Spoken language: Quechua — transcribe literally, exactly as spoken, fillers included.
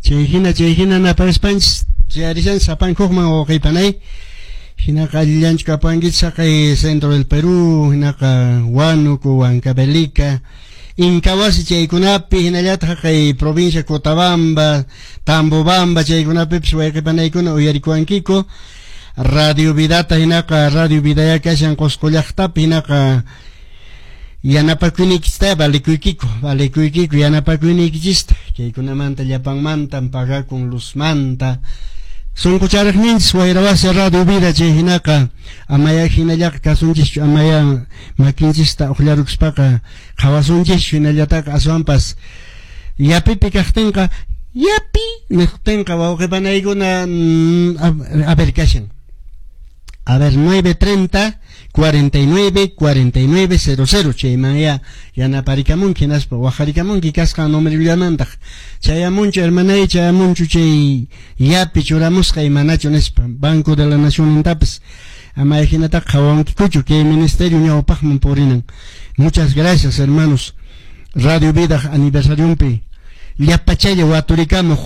Chay hina chay hina naparispanchis chayarishan sapankuqman, wawqipanay. Hinaqa allillanchu kapuwankichis haqay centro del Perú, hinaqa Huánuco, Huancavelica, Incahuasi chaykunapi, hinallataq haqay provincia Cotabamba, Tambobamba chaykunapipis wayqipanaykuna uyarikuwankiku. Radio Vidata, hinaqa Radio Vidaya kashan Qusqu llaqtapi, hinaqa yanapakuyniykista valikuykiku, valikuykiku yanapakuyniykichista. Chaykunamanta llapanmantan pagakun luzmanta. Sunqucharaqninchis wayrawasi Radio Vida chay hinaqa amaya hinallaqa kasunchischu, amaya makinchista uqllarukuspaqa qhawasunchischu hinallataqa, aswanpas yapipi kaqtinqa yapi niqtinqa wawqipanaykuna a ver kashan. A ver, nueve treinta cuarenta y nueve cuarenta y nueve cero cero chayman ya yanaparikamunki hinaspa waqharikamunki kasqan numerollamantaq chayamunchu, hermanay, chayamunchu chay yapi churamusqa imanachu nispa. Banco de la Nación intapis ama hinataqa qhawankikuchu kay ministerio ñawpaqman purinan. Muchas gracias, hermanos. Radio Vida aniversarionpi llapachalla waturikamuq.